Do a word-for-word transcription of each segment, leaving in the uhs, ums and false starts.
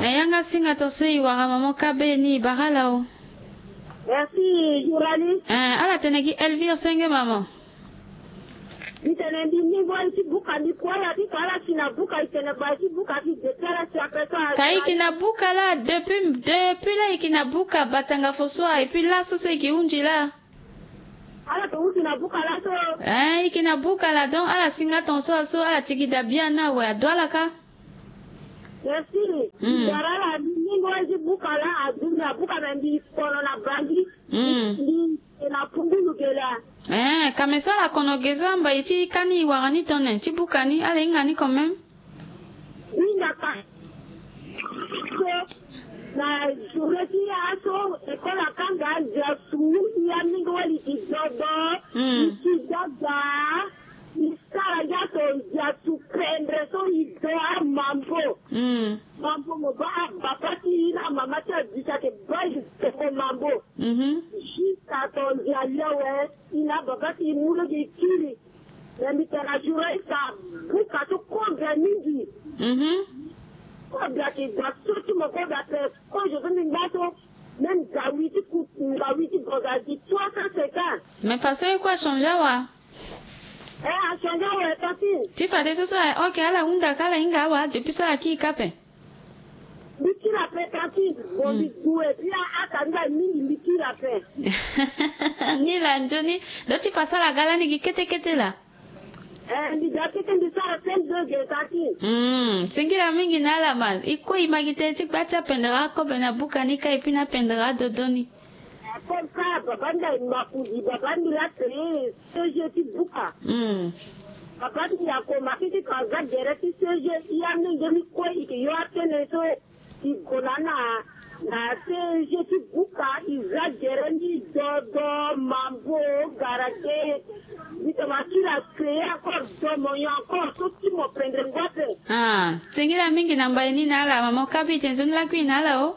Eh, yanga singa to so i wara mama ka be ni i bara ala o. Merci, journaliste. Eh, ala tene gi Elvire senge mama. Mbi tene mbi ni ngoi ti buka mbi kue ala ti ka ala si na buka i tene bai ti buka ti de ti ala si après ça. Ka i ki na buka la depuis depuis la i ki na buka batanga fo so a et puis laso so i ki hunzi la. Ala to hunzi na buka laso. Eh, i ki na buka la donc ala singa ton so aso ala tigi da bia na we ado ala ka. Merci. Mm. Dara la ni ni ngoi ti buka la adu na buka na mbi kono na bangi. Mm. Mbi na pungulu gela. Eh, ka me so ala kono ge so amba i ti ka ni i wara ni tone ti buka ni ala hinga ni quand même. Hinga ka. So na journée ti aso école akanga ndia su ya mingi wali ti dodo. Mm. I ti dada. I sara ngia so ndia su pendre so i do amambo. Mm. Mambo mo ba ababa ti i na amama ti abisa ke bai toko mambo. Mhm. Juste ato ndia lewe i na ababa ti i mu lo gi kiri. Me mbi tene na journaliste abuka so kobia mingi. Mhm. Kobia ti da so ti mo kobia pe. Kozo so mbi ngba so même ngawi ti ku ngawi ti boza gi trois cent cinquante. Mais façon i kue achangé awa. Eh, achangé awa e tantine. Ti fadeso so aye ok ala hunda ka ala hinga awa depuis so ala kiri ka pe. Mbi kiri ape tantine. Bon, mbi du et puis a aka ni la mingi mbi kiri ape. Ni la nzoni. Donc ti fa so ala ga lani gi kete kete la. Eh, mbi ga kete mbi sara cinq degré tantine. Mm, singila mingi na ala ma i kue i ma gi tënë ti gba ti apendere akobe na buka ni ka et puis na apendere adodo ni. Comme ça baba nda i makuzi baba nda la créé C G ti buka. Mm. Baba nda i akoma kiti ka za gere ti C G i amenge mi kue i ke yo atene so i gona na na C G ti buka i za gere ni dodo mambo garage. Mbi toma ti la créé encore domo yo encore so ti mo pendre ngua pe. Ah, singila mingi na mbai ni na ala mama o kabi te nzoni lakui na ala o.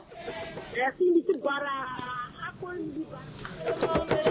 Merci mbi ti bara akoli mbi bara.